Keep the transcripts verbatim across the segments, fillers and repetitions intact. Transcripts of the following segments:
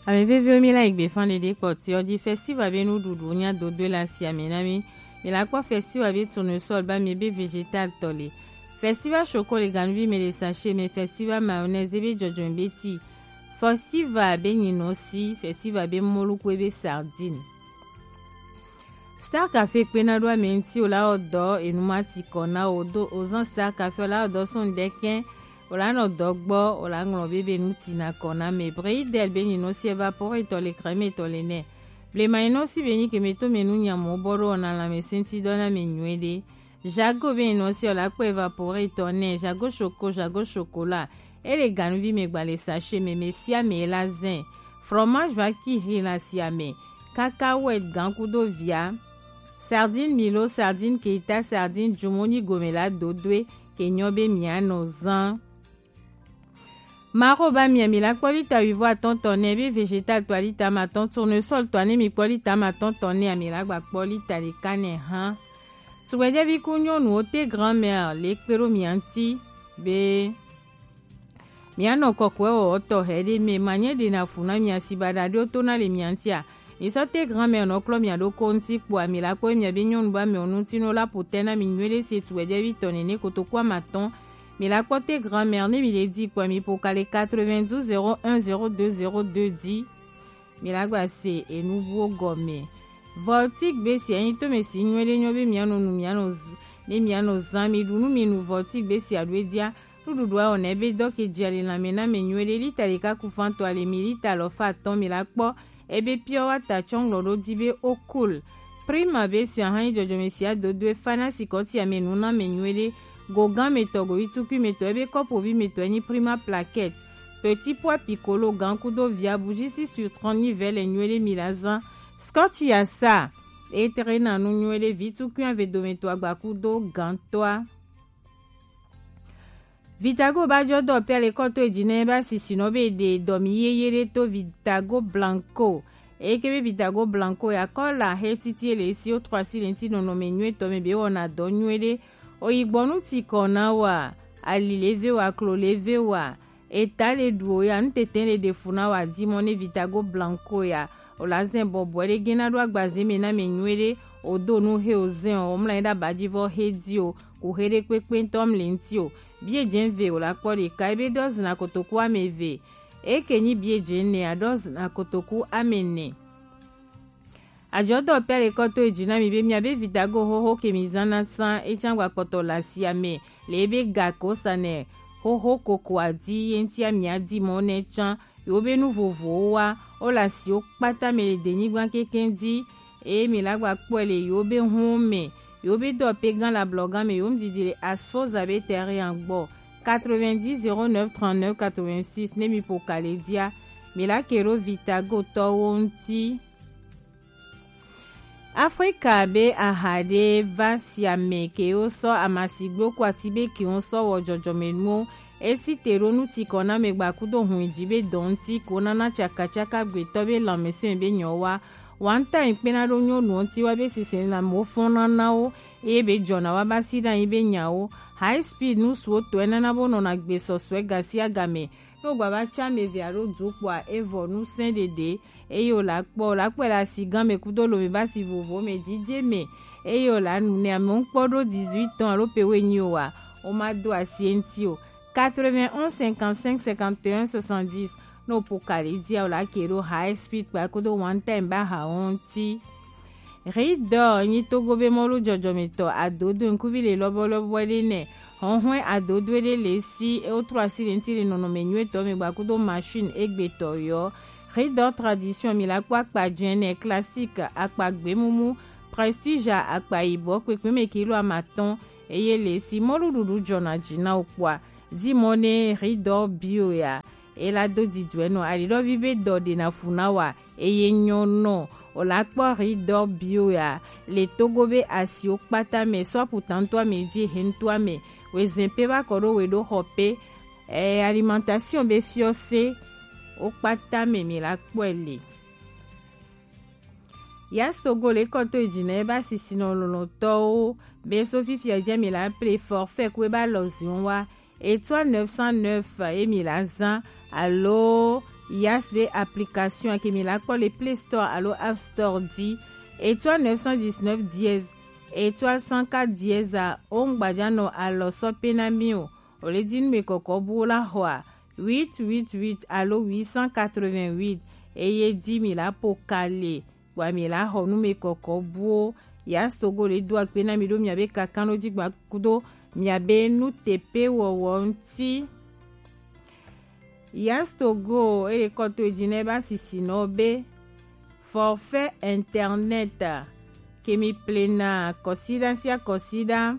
Ame veviwo, mi la yi gbe fan ɖeɖe kpɔti ɔ ji. Festival be nuɖuɖu nya dodo le asi ame na mi. Mi la kpɔ festival be tournesol ba mi be vegetal tɔ le. Festival choco le ganuvi me le sachet me. Festival mayonnaise be jɔjɔn be ti. Festival be nyinɔsi. Festival be mɔlu kue be sardine. Star Café kpena ɖo ame ŋuti, o la wɔ dɔ enu ma ti kɔ na o do o zɔn Star Café, o la wɔ dɔ sɔn ɖekɛ, o la nɔ dɔ gbɔ, o la ŋlɔ be be nu ti na kɔ na me. Breidel be nyinɔsi evaporetɔ le crème tɔ le nɛ. Blema nyinɔsi be nyi ke me to me nu nyamɔ bɔ ɖo o na la me senti dɔ na me nyuie ɖe. Jago be nyinɔsi o la kpɔ evaporetɔ nɛ. Jago choco, jago chocolat. E le ganuvi me gba le sachet me, me sia me la zɛn. Fromage va ki hi la sia me. Cacahuète gan kudo via. Sardine Milo, sardine Keita, sardine Jumoni gome la dodoe ke nyɔ be mia nɔ zan. Maro ba mia mi la kpɔ lita wivo atɔn tɔ nɛ be vegetal tɔ lita ma tɔn, tournesol tɔ ne mi kpɔ lita ma tɔn tɔ nɛ ami la gba kpɔ lita ɖeka nɛ hã. Sugbɛjɛvi ku nyɔnu o te grand-mère le kpe ɖo mia ŋuti be Mianɔ kɔkɔe wɔwɔ tɔxɛ ɖe mɛ, manyɛ ɖe na fu na mia si baɖa ɖewo to na le mia ŋutia. Mi sɔ te grand-mère nɔ klɔ mia ɖokɔ ŋuti kpoa mi la kpɔ mia be nyɔnu ba mɛ ŋuti no la po tɛ na mi nyuie ɖe se tu wɛjɛvi tɔ nene kotoku ama tɔn. Mi la kpɔ te grand-mère ne mi le di kpoa mi po kale quatre-vingt-douze zéro un zéro deux zéro deux di. Mi la gba se enubuwo gɔme. Voltic be si enyi to me si nyuie ɖe nyɔ be mianɔ nu mianɔ z-, ne mianɔ zan mi ɖu nu mi nu Voltic be si aɖu edia. Nuɖuɖua wɔna ebe dɔ ke dzi ali lãme na ame nyuie ɖe. Lita ɖeka ku fan to ali mi lita alɔfa atɔ̃ mi la kpɔ. Ebe pure water tsɔ ŋlɔ ɖo di be o cool. Prima be si ahan yi dzɔdzɔme sia dodoe fa na sikɔti ame nu na ame nyuie ɖe. Gogan me tɔ, govi tukui me tɔ, ebe kɔpovi me tɔ enyi Prima plaquette. Petit pois piccolo gan kudo via bougie six sur trente ni vɛ le nyuie ɖe mi la zan. Scotch ya sa. Etere na nu nyuie ɖe vi tukui ave dome to agba kudo gan toa. Vitago ba jɔ dɔ pia le kɔ to edzi nɛ ba sisi nɔ be ɖe dɔ mi yeye ɖe to Vitago Blanco. Eye ke be Vitago Blanco ya kɔ la he titi ele si o trɔ asi le ŋuti nɔnɔme nyuie tɔ me be wɔna dɔ nyuie ɖe. Oyi gbɔ nu ti kɔ na wa, ali le ve wa, klo le ve wa, eta le ɖu o ya, nu tete le ɖe fu na wa di mɔ ne Vitago Blanco ya. O la zɛn bɔbɔe ɖe gena ɖo agbaze me na me nyuie ɖe. O do nu he o zɛn o, o mla yi ɖe aba dzi vɔ he di o. Ku xe ɖe kpekpe ŋutɔ mli ŋuti o. Bie dze ve o la kpɔ ɖeka ebe ɖɔ zina kotoku ame eve. Eke nyi bie dze ne a ɖɔ zina kotoku ame ne. Adzɔ dɔ pia le kɔ to edzi na mi be mia be Vitago xoxo ke mi zana san etsan gba kpɔtɔ le asia me le ebe ga ko sa ne xoxo koko adi ye ŋutia mia di mɔ ne tsan. Yewo be nu vovowo wa, wo le asiwo kpata me le denyigba kekeŋ di, eye mi la gba kpɔe le yewo be hun me, yewo be dɔ pe gan le ablɔgan me, yewo ŋdidi le Asfoza be terrain gbɔ. Quatre-vingt-dix zéro neuf trente-neuf quatre-vingt-six ne mi ƒo ka le dia, mi la ke ɖo Vitago tɔwo ŋuti. Afrika be aha ɖe va sia me ke wosɔ amasigbewo ku ati be ke wosɔ wɔ dzɔdzɔmenuwo. Esi te ɖo nu ti kɔ na me gba kudo hun dzi be dɔ ŋuti ko nana tsakatsaka gbetɔ be lãmesẽ be nyɔ wa. Wanta yi kpena ɖo nyɔnuwo ŋuti wa be sese na mo fɔn nana wo eye be dzɔna wa ba si ɖe anyi be nyawo. High speed nu suwo tɔe nana bo nɔna gbe sɔsɔe ga sia ga me. Ne wogba va tsa ame eve alo du kpoa, evɔ nu sɛ̃ ɖeɖe, eye wòle akpɔ, wòle akpɔe le asigã me kudo lome be asi vovovo me, dzidze me, eye wòle anu nɛ. Ame ŋkpɔ ɖo dix-huit ans alo pe woenyi oa, womado asi eŋuti o. Quatre-vingt-onze cinquante-cinq cinquante et un soixante-dix, ne wòƒo ka le dzia, wòle ake ɖo high speed kpa kudo one time be ahawo ŋuti. Ridɔ nyi Togo be mɔlu dzɔdzɔmetɔ adodo ŋkuvi le lɔbɔlɔbɔ ɖe nɛ. Hɔnhɔn adodo ɖe le si e wotrɔ asi le ŋuti le nɔnɔme nyuietɔ me gba kudo machine egbetɔ yɔ. Ridɔ tradition mi la kpɔ akpa dzɛnɛ, classique akpa gbemumu, prestige akpa yibɔ, kpekpe me kilo amatɔn eye le si mɔlu ɖuɖu dzɔna dzi na wo kpɔa. Di mɔ ne Ridɔ bio ya. Ela do didɔe nɔ aliɖɔvi be dɔ ɖena fu na wa eye nyɔ nɔ. O la kpɔ Ridɔ bio ya le Togo be asiwo kpata me, sɔ aputa ŋutɔ ame dzi he ŋutɔ ame, wezɛn pe va kɔ ɖo we ɖo xɔ pe. Ɛ, alimentation be fiɔse wo kpata me mi la kpɔe le. Yasogo le kɔ to edzi na ebe asisinɔ lɔlɔ̃tɔwo be so fifia dze mi la ple forfait ku ebe alɔziwo wa. Étoile neuf cent neuf ye mi la zã alo Yas be application ke mi la kpɔ le Play Store alo App Store dzi. Étoile neuf cent dix-neuf dièse, étoile cent quatre dièse a, o ŋgbajanɔ alɔ sɔ pe na mi o. O le di nu me kɔkɔ bu o la xɔa huit huit huit alo huit cent quatre-vingt-huit, eye di mi la po kale kpɔa mi la xɔ nu me kɔkɔ bu o. Yas Togo le do akpe na mi ɖo mia be kakan ɖo dzi gba kudo mia be nu tepe wɔwɔ ŋuti. Yas Togo, ele kɔ to edzi na ebe asisinɔ be forfait internet ke mi plena kɔsiɖa sia kɔsiɖa,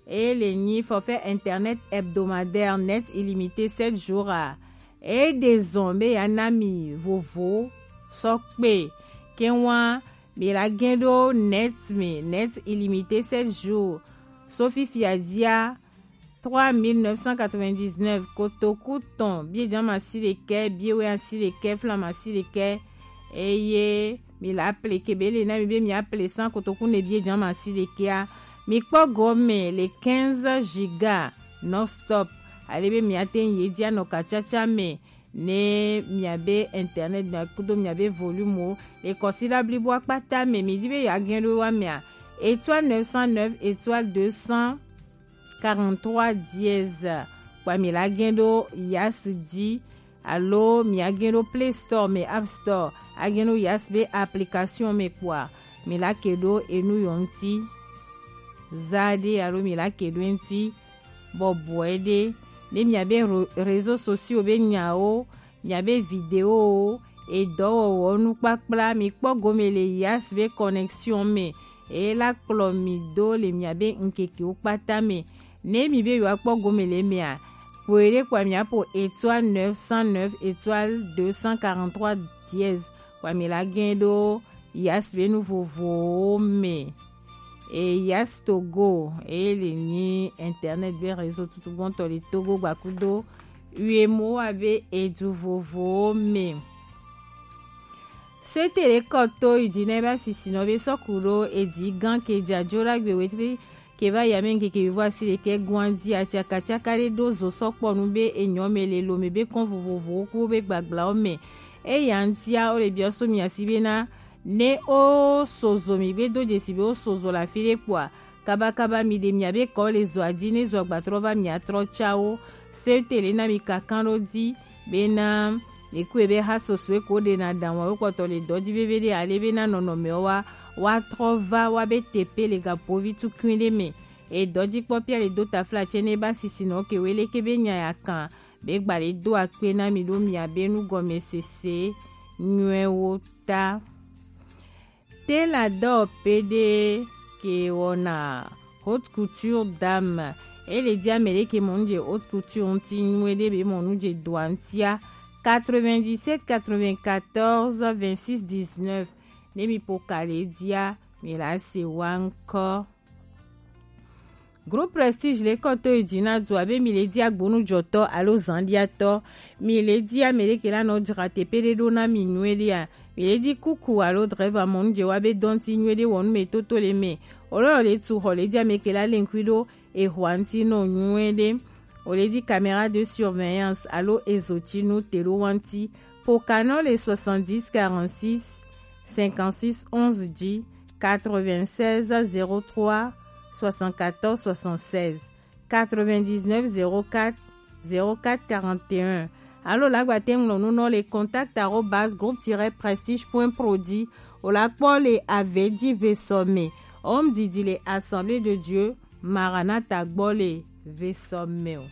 eye le nyi forfait internet hebdomadaire net illimité sept jours a, e ɖe zɔn be ya na mi vovo sɔ kpe. Ke wa mi la gɛn ɖo net me, net illimité sept jours, so fifia dzia trois mille neuf cent quatre-vingt-dix-neuf, kotoku tɔn bie jan ma si ɖekɛ, bie wɛ asi ɖekɛ, flan ma si ɖekɛ, eye mi la ple ke be le na mi be mi a ple san kotoku ne bie jan ma si ɖekɛ a. Mi kpɔ gɔme le quinze giga non stop. Ale be mi a te ye dia nɔ kacaca me ne mia be internet mia kudo mia be volume o. Le kɔsiɖa blibo akpata me mi di be ya gɛn ɖo wa mia étoile neuf cent neuf étoile deux cent quarante-trois dièse, kpɔa mi la gɛn ɖo Yas dzi, alo mi a gɛn ɖo Play Store me, App Store, a gɛn ɖo Yas be application me kpɔa mi la ke ɖo enu yɔ ŋuti za ɖe, alo mi la ke ɖo ŋuti bɔbɔe ɖe. Ne mia be ro- réseaux sociaux be nyawo, mia be vidéowo, edɔwɔwɔ nukpakpla, mi kpɔ gome le Yas be connexion me, eye la kplɔ mi do le mia be ŋkekewo kpata me. Ne mi be yewoa kpɔ gome le mea, kpoe ɖe kpɔa mia po étoile neuf cent neuf étoile deux cent quarante-trois dièse, kpɔa mi la gɛn ɖo Yas be nu vovowo me. E Yas Togo, e le nyi internet be réseau tutugbɔntɔ le Togo gbakudo uemowa be edu vovowo me. Sete le kɔ to yi dzi na ebe asisinɔ be sɔku ɖo edi gan ke dza jo ɖagbe wetri ke va yi ame ŋkeke yovo asi ɖekɛ gɔn dzi atsakatsaka ɖe ɖo zo sɔ kpɔ nu be enyɔ me le lo me be kɔn vovovowo ku be gbaglawo me. Eya ŋutia wo le biɔ so mi asi be na ne wo sozo mi gbe do dzesi be wo sozo le afi ɖe kpɔa, kabakaba mi ɖe mia be kɔ le zoa dzi ne zoa gbatrɔ va mia trɔ tsa wo. Se tele na mi kankan ɖo dzi bena le kue be ha soso e ko ɖe na ɖaŋ wa wo kpɔtɔ le dɔ dzi veve ɖe ale bena nɔnɔmewo wa wa trɔ va wa be tepe le gapovi tukui ɖe me. E dɔ dzi kpɔ pia le do tafla tse ne ba sisi nɔ ke we leke be nya ya kan be gba le do akpe na mi ɖo mia be nugɔmesese nyuiwo ta. Te la dɔ pe ɖe ke wɔna haute couture dame. E le di ame ɖe ke mɔ nu dze haute couture ŋuti nyuie ɖe be mɔ nu dze doa ŋutia. Quatre-vingt-dix-sept quatre-vingt-quatorze vingt-six dix-neuf. Ne mi po ka le dia, mi la se wa ŋkɔ. Groupe Prestige le kɔ to yi dzi na du abe mi le di agbonujɔtɔ alo zanɖiatɔ. Mi le di ame ɖe ke la nɔ dzra teƒe ɖe ɖo na mi nyuie ɖea. Mi le di kuku alo dreva mɔnu dze wa be dɔnti nyuie ɖe wɔnu me toto le me. Olo le tu xɔ le di ame ke la le ŋkui ɖo exɔa ŋuti nɔ nyuie ɖe. O le di caméra de surveillance alo ezotinu te ɖo wa ŋuti. Po kanɔ le soixante-dix quarante-six cinquante-six onze dzi, quatre-vingt-seize zéro trois soixante-quatorze soixante-seize, quatre-vingt-dix-neuf zéro quatre zéro quatre quarante et un. Alo lagba te ŋlɔ nu nɔ le contact arobase groupe tiret prestige point pro dzi. O la kpɔ le ave dzi ve sɔ me. Homme didi le Assemblée de Dieu Maranatha gbɔ le ve sɔ me o.